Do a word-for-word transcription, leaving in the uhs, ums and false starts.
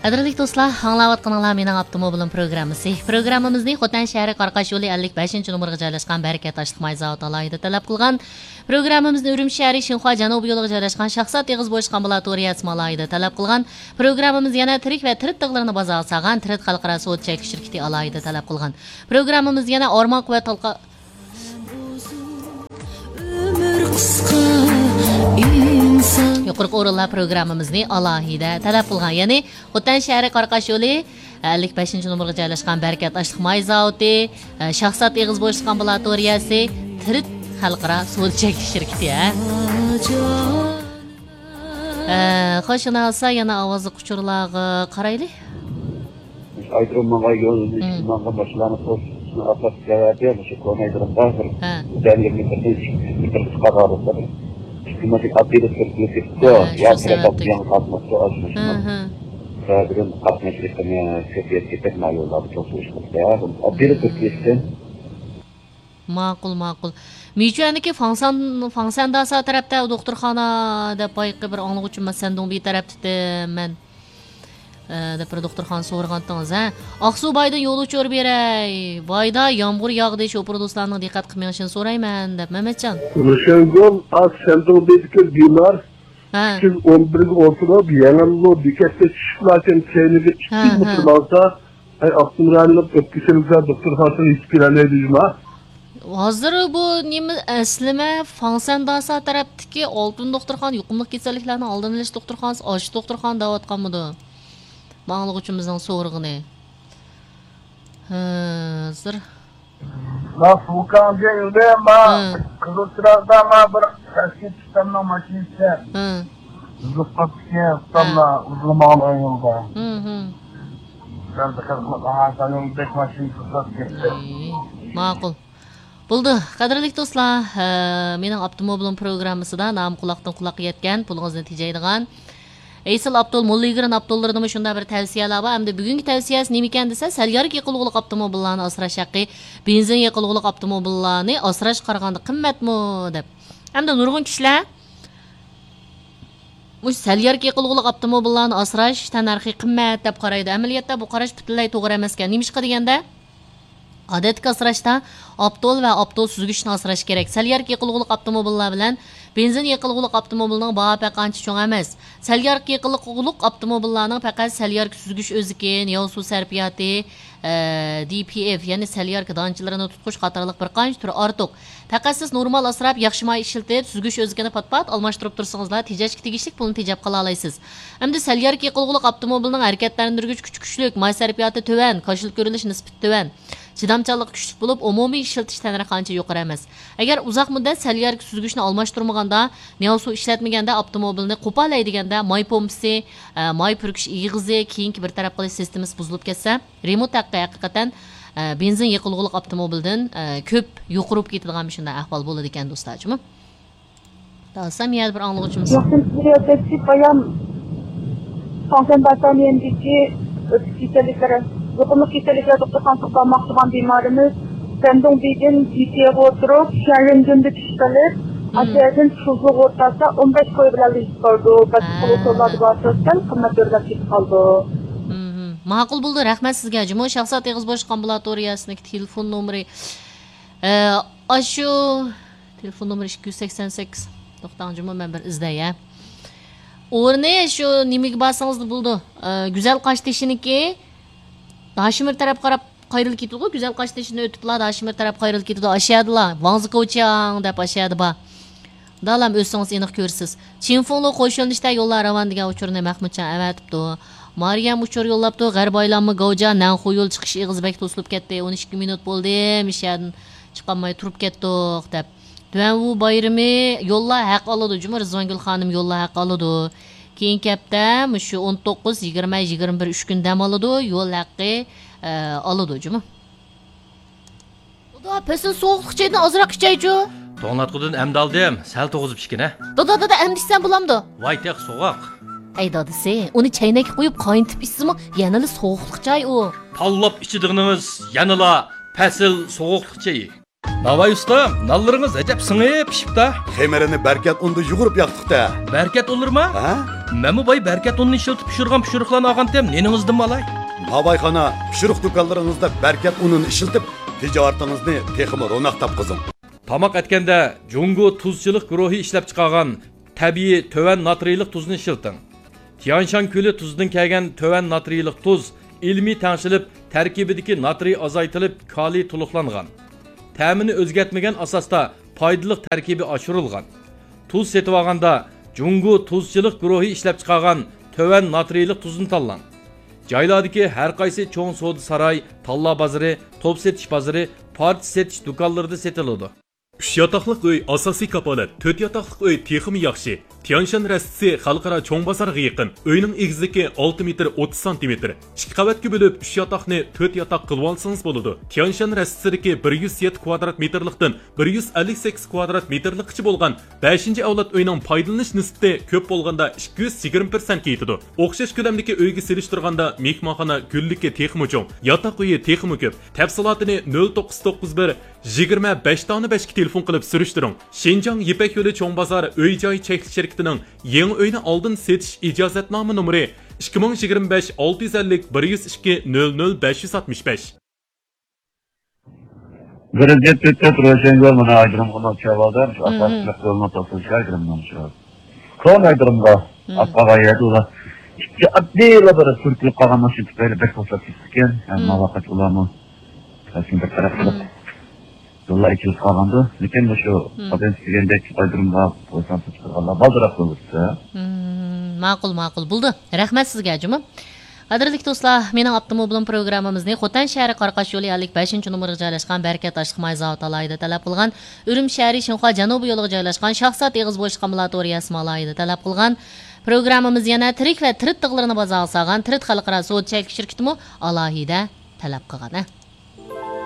قەدىرلىك دوستلار، ئاڭلاۋاتقىنىڭلار مېنىڭ ئاپتوموبىلىم پروگراممىسى. پروگراممىمىزنى خوتەن شەھىرى قاراقاش يولى ئەللىك بەشىنچى نومۇرغا جايلاشقان بەرىكەت ئاشلىق ماي زاۋۇتى ئالاھىدە تەلەپ قىلغان. پروگراممىمىزنى ئۈرۈمچى شەھىرى شىنخۇا جەنۇبىي يولىغا جايلاشقان شاخسات ئېغىز بوشلۇق ئامبۇلاتورىيەسىمۇ ئالاھىدە تەلەپ قىلغان. پروگراممىمىز يەنە تىرىك ۋە تىرىت تىغلىرىنى بازارغا سالغان تىرىت خەلقئارا سودا چەكلىك شىركىتى ئالاھىدە تەلەپ قىلغان. پروگراممىمىز يەنە ئارماق ۋە تالقا-، ئۆمۈر قىسقا، ئىنسان. يۇقىرىقى ئورۇنلار پروگراممىمىزنى ئالاھىدە تەلەپ قىلغان. يەنى خوتەن شەھىرى قاراقاش يولى، ئەللىك بەشىنچى نومۇرغا جايلاشقان بەرىكەت ئاشلىق ماي زاۋۇتى، شاخسات ئېغىز بوشلۇق ئامبۇلاتورىيەسى، تىرىت خەلقئارا سودا چەكلىك شىركىتى، ھە. ئە، خوش، ئۇنداق بولسا يەنە ئاۋازلىق ئۇچۇرلارغا قارايلى. ئايرىم ماڭغان يول، مم. ماڭغان ماشىنىلارنى توسۇشنىڭ ئاساسىي سەۋەبى مۇشۇ كونا ئايرىمدا بىر ھە. بەلگىلىك بىر، بىر قىسقا ئارىلىقتا ئىككى ماشىنا ئاددىي بىر سۈرۈپ كېتىپتۇ. ھە، شۇ يا سەۋەبتىن. يەنە قاتناشتۇ، ھە، ھە. سەۋەبىدىن قاتناش ئېقىمى كۆپىيىپ كېتىپ، ما يوللاردا توسۇلۇش قىلدى. ئاددىي بىر سۈرۈپ كېتىپتۇ. ماقۇل، ماقۇل. مىچۈەندىكى فاڭسان، فاڭسەنداسا تەرەپتە دوختۇرخانا دەپ بايىقى بىر ئاڭلىغۇچىم، مەن سەندۇڭبى تەرەپتىمەن، ئە، دەپ بىر دوختۇرخانا سورىغانتىڭىز، ھە؟ ئاقسۇ بايدىن يول ئۇچۇر بېرەي. بايدا يامغۇر ياغدى، شوپۇر دوستلارنىڭ دىققەت قىلىپ مېڭىشىنى سورايمەن، دەپ مەمەتجان. رۇشەنگۈل، ئاز سەندۇڭبىدىكى بىمار ھە. ئۈچ يۈز ئون بىرگە ئولتۇرۇپ، يېڭىللو بېكەتتە چۈشۈپلاركەن كەينىگە ھە، ئىككى ھە. مېتىر ماڭسا، ئەي، ئاپتونوم رايونلۇق ئۆپكە كېسەللىكلەر دوختۇرخانىسىغا يېتىپ كېلەلەيدۇ جۇما. ھازىر بۇ نېمە، ئەسلىمە فاڭسەنداسا تەرەپتىكى ئالتۇن دوختۇرخانا، يۇقۇملۇق كېسەللىكلەرنىڭ ئالدىنى ئېلىش دوختۇرخانىسى، ئاشۇ دوختۇرخانا دەۋاتقانمىدۇ؟ ماڭلىغۇچىمىزنىڭ سورىغىنى. ھازىر. ما فۇكاڭجيەن يولى، ما ھە. قىزىل چىراغدا، ما بىر تەسكى ئۇستامنىڭ ماشىنىسى. ھە. ئۇزۇپ قاپتىكەن، ئۇستاملار ھە. ئۇزۇن ماڭىدىغان يولدا. ھە، ھە. سەل دىققەت قىلىپ ماڭارسەن، يول بەك ماشىنا توختاپ كەتتى. ئەي، ماقۇل. بولدى، قەدىرلىك دوستلار، ھە، مېنىڭ ئاپتوموبىلىم پروگراممىسىدا نامى قۇلاقتىن قۇلاققا يەتكەن، پۇلىڭىزنى تېجەيدىغان ئېسىل ئاپتول، موللىگرېن ئاپتوللىرىدىمۇ شۇنداق بىر تەۋسىيەلەر بار. ئەمدى بۈگۈنكى تەۋسىيەسى نېمىكەن دېسە، سەل يارىقى يېقىلغۇلۇق ئاپتوموبىللارنى ئاسراش ھەققى، بېنزىن يېقىلغۇلۇق ئاپتوموبىللارنى ئاسراشقا قارىغاندا قىممەتمۇ دەپ. ئەمدى نۇرغۇن كىشىلەر مۇشۇ سەل يارىقى يېقىلغۇلۇق ئاپتوموبىللارنى ئاسراش تەننەرخى قىممەت دەپ قارايدۇ. ئەمەلىيەتتە بۇ قاراش پۈتۈنلەي توغرا ئەمەسكەن. نېمىشقا دېگەندە، ئادەتتىكى ئاسراشتا ئاپتول ۋە ئاپتول سۈزگۈچنى ئاسراش كېرەك. سەل يارىقى يېقىلغۇلۇق ئاپتوموبىللار بىلەن بېنزىن يېقىلغۇلۇق ئاپتوموبىلنىڭ باھا پەرقى ئانچە چوڭ ئەمەس. سەل يارىقى يېقىلغۇلۇق ئاپتوموبىللارنىڭ پەقەت سەل يارىقى سۈزگۈچ ئۆزىكى، نېۋ سۇ سەرپىياتى، ئە، دى پى ئېف، يەنى سەل يارىقى دانچىلىرىنى تۇتقۇچ قاتارلىق بىر قانچە تۈرى ئارتۇق. پەقەت سىز نورمال ئاسراپ، ياخشى ماي ئىشلىتىپ، سۈزگۈچ ئۆزىكىنى پات-پات ئالماشتۇرۇپ تۇرسىڭىزلا، تېجەشكە تېگىشلىك پۇلنى تېجەپ قالالايسىز. ئەمدى سەل يارىقى يېقىلغۇلۇق ئاپتوموبىلنىڭ ھەرىكەتلەندۈرگۈچ كۈچى كۈچلۈك، ماي سەرپىياتى تۆۋەن، كاشىلىك كۆرۈلۈش نىسبىتى تۆۋەن، چىدامچانلىقى كۈچلۈك بولۇپ، ئومۇمىي ئىشلىتىش تەننەرخى ئانچە يۇقىرى ئەمەس. ئەگەر ئۇزاق مۇددەت سەل يارىقى سۈزگۈچنى ئالماشتۇرمىغاندا، نېۋ سۇ ئىشلەتمىگەندە، ئاپتوموبىلنى قوپالاي دېگەندە، ماي پومپىسى، ئە، ماي پۈركۈش ئېغىزى، كېيىنكى بىر تەرەپ قىلىش سىستېمىسى بۇزۇلۇپ كەتسە، رېمونت ھەققى ھەقىقەتەن، ئە، بېنزىن يېقىلغۇلۇق ئاپتوموبىلدىن، ئە، كۆپ يۇقىرى بولۇپ كېتىدىغان مۇشۇنداق ئەھۋال بولىدىكەن، دوستلار، جۇمۇ. داسام يەنە بىر ئاڭلىغۇچىمىز. ياخشىمۇسىز، بايام فاڭسەن باتانىيەندىكى ئۆپكە كېسەللىكلىرى، يۇقۇملۇق كېسەللىكلەر دوختۇرخانىسىغا بارماقچى بولغان بىمارىمىز سەندۇڭبىدىن جىتيەگە ئولتۇرۇپ، شيەنرېندۈندا چۈشۈپ قېلىپ، مم. ئاشۇ يەردىن شۇزۇغا ئولتۇرسا، ئون بەش كوي بىلەن يېتىپ قالىدۇ. بەزى ھە. ئۇسۇللاردا بارسا سەل قىممەت ئۆرلەپ كېتىپ قالىدۇ. مم. ماقۇل بولدى، رەھمەت سىزگە. جۇمۇ شاخسات ئېغىز بوشلۇق ئامبۇلاتورىيەسىنىڭ تېلېفون نومۇرى. ئە، ئاشۇ تېلېفون نومۇرى ئىككى يۈز سەكسەن سەككىز. توختاڭ جۇمۇ، مەن بىر ئىزدەي، ھە. ئورنى شۇ نېمىگە بارسىڭىزلا بولىدۇ. ئە، گۈزەل قاشتېشىنىڭكى داشىمىر تەرەپ قاراپ قايرىلىپ كېتىدىغۇ. گۈزەل قاشتېشىنى ئۆتۈپلا داشىمىر تەرەپ قايرىلىپ كېتىدۇ. ئاشۇ يەردىلا، ۋاڭزىكوچياڭ دەپ ئاشۇ يەردە بار. دالام ئۆتسىڭىز ئېنىق كۆرىسىز. چىنفۇڭلۇ قوش يۆنىلىشتە يوللار راۋان دېگەن ئۇچۇرنى مەخمۇتجان ئەۋەتىپتۇ. مارىيەم ئۇچۇر يوللاپتۇ. غەربىي ئايلانما گاۋجا نەنخۇ يول چىقىش ئېغىزى بەك توسۇلۇپ كەتتى. ئون ئىككى مىنۇت بولدى. مۇشۇ يەردىن چىقالماي تۇرۇپ كەتتۇق، دەپ. تۈەنۋۇ بايرىمى يوللار ھەق ئالىدۇ جۇمۇ، رىزۋانگۈل خانىم يوللار ھەق ئالىدۇ. كېيىنكى ھەپتە مۇشۇ ئون توققۇز، يىگىرمە، يىگىرمە بىر ئۈچ كۈن دەم ئالىدۇ، يول ھەققى، ئە، ئالىدۇ جۇمۇ. دادا، پەسىل سوغۇقلۇق چايدىن ئازراق ئىچەيچۇ. توڭلاتقۇدىن ئەمدى ئالدىم، سەل توغۇزۇپ ئىچكىنە. دادا، دادا، ئەمدى ئىچسەم بولامدۇ؟ ۋاي تېخى سوغۇق. ئەي دادىسى، ئۇنى چەينەككە قويۇپ قاينىتىپ ئىچسىمۇ يەنىلا سوغۇقلۇق چاي ئۇ. تاللاپ ئىچىدىغىنىڭىز يەنىلا پەسىل سوغۇقلۇق چېيى. ناۋاي ئۇستام، نانلىرىڭىز ئەجەب سىڭىپ پىشىپتا. خېمىرىنى بەركەت ئۇندا يۇغۇرۇپ ياقتۇق-تە. بەركەت ئۇنلىرىما؟ ھە؟ مەنمۇ باي بەركەت ئۇنىنى ئىشلىتىپ پىشۇرغان پىشۇرۇقلارنى ئالغانتىم، نېنىڭىزدىنمۇ ئالاي؟ ناۋايخانا، پىشۇرۇق دۇكانلىرىڭىزدا بەركەت ئۇنىنى ئىشلىتىپ، تىجارىتىڭىزنى تېخىمۇ روناق تاپقۇزۇڭ. تاماق ئەتكەندە جۇڭگو تۇزچىلىق گۇرۇھى ئىشلەپچىقارغان تەبىئىي تۆۋەن ناترىيلىق تۇزنى ئىشلىتىڭ. تيانشان كۆلى تۇزىدىن كەلگەن تۆۋەن ناترىيلىق تۇز ئىلمىي تەڭشىلىپ، تەركىبىدىكى ناترىي ئازايتىلىپ، كالىي تولۇقلانغان. تەمىنى ئۆزگەرتمىگەن ئاساستا پايدىلىق تەركىبى ئاشۇرۇلغان. تۇز سېتىۋالغاندا جۇڭگو تۇزچىلىق گۇرۇھى ئىشلەپچىقارغان تۆۋەن ناترىيلىق تۇزنى تاللاڭ. جايلاردىكى ھەر قايسى چوڭ سودا ساراي، تاللا بازىرى، توپ سېتىش بازىرى، پارچە سېتىش دۇكانلىرىدا سېتىلىدۇ. ئۈچ ياتاقلىق ئۆي ئاساسىي كاپالەت، تۆت ياتاقلىق ئۆي تېخىمۇ ياخشى. تيانشان رەستىسى خەلقئارا چوڭ بازارغا يېقىن. ئۆينىڭ ئېگىزلىكى ئالتە مېتىر ئوتتۇز سانتىمېتىر. ئىككى قەۋەتكە بۆلۈپ، ئۈچ ياتاقنى تۆت ياتاق قىلىۋالسىڭىز بولىدۇ. تيانشان رەستىسىدىكى بىر يۈز يەتتە كۋادرات مېتىرلىقتىن بىر يۈز ئەللىك سەككىز كۋادرات مېتىرلىققىچە بولغان بەشىنچى ئەۋلاد ئۆينىڭ پايدىلىنىش نىسبىتى كۆپ بولغاندا ئىككى يۈز يىگىرمە پىرسەنتكە يېتىدۇ. ئوخشاش كۆلەمدىكى ئۆيگە سېلىشتۇرغاندا مېھمانخانا گۈللۈكى تېخىمۇ چوڭ، ياتاق ئۆيى تېخىمۇ كۆپ. تەپسىلاتىنى نۆل توققۇز توققۇز بىر، يىگىرمە بەش دانە بەشكە تېلېفون قىلىپ سۈرۈشتۈرۈڭ. شىنجاڭ يىپەك يولى چوڭ بازار ئۆي جاي چەكلىك شىركىتىنىڭ يېڭى ئۆينى ئالدىن سېتىش ئىجازەتنامە نومۇرى ئىككى مىڭ يىگىرمە بەش ئالتە يۈز ئەللىك بىر يۈز ئىككى نۆل نۆل بەش يۈز ئاتمىش بەش. بىر يۈز يەتتە تۆت روشەنگۈل مانا ئايدىرىمغا چاۋالدى، شۇ مم. ئاساسلىق يولنى توسۇش ئايدىرىمنىڭ شۇ. كونا ئايدىرىمغا مم. ئاتقاغان يەردە ئۇلار ئىككى ئاددىيلا بىر سۈرتۈلۈپ قالغان ماشىنا تۈپەيلى بەك توساپ كېتىپتىكەن. ھەم مم. ماۋاقىت ئۇلارمۇ رەسمىي بىر تەرەپ قىلىپ مم. يوللار ئېچىلىپ قالغاندۇ. لېكىن مۇشۇ مم. ئادەم دېگەندەك ئايدىرىمغا بويسۇن تۇتقانلار بالدۇرراق بولۇشسا. مم. ماقۇل، ماقۇل. بولدى. رەھمەت سىزگە، جۇمۇ. قەدىرلىك دوستلار، مېنىڭ ئاپتوموبىلىم پروگراممىمىزنى خوتەن شەھىرى قاراقاش يولى ئەللىك بەشىنچى نومۇرغا جايلاشقان بەرىكەت ئاشلىق ماي زاۋۇتى ئالاھىدە تەلەپ قىلغان، ئۈرۈمچى شەھىرى شىنخۇا جەنۇبىي يولىغا جايلاشقان شاخسات ئېغىز بوشلۇق ئامبۇلاتورىيەسىمۇ ئالاھىدە تەلەپ قىلغان. پروگراممىمىز يەنە تىرىك ۋە تىرىت تىغلىرىنى بازارغا سالغان تىرىت خەلقئارا سودا چەكلىك شىركىتىمۇ ئالاھىدە تەلەپ قىلغان.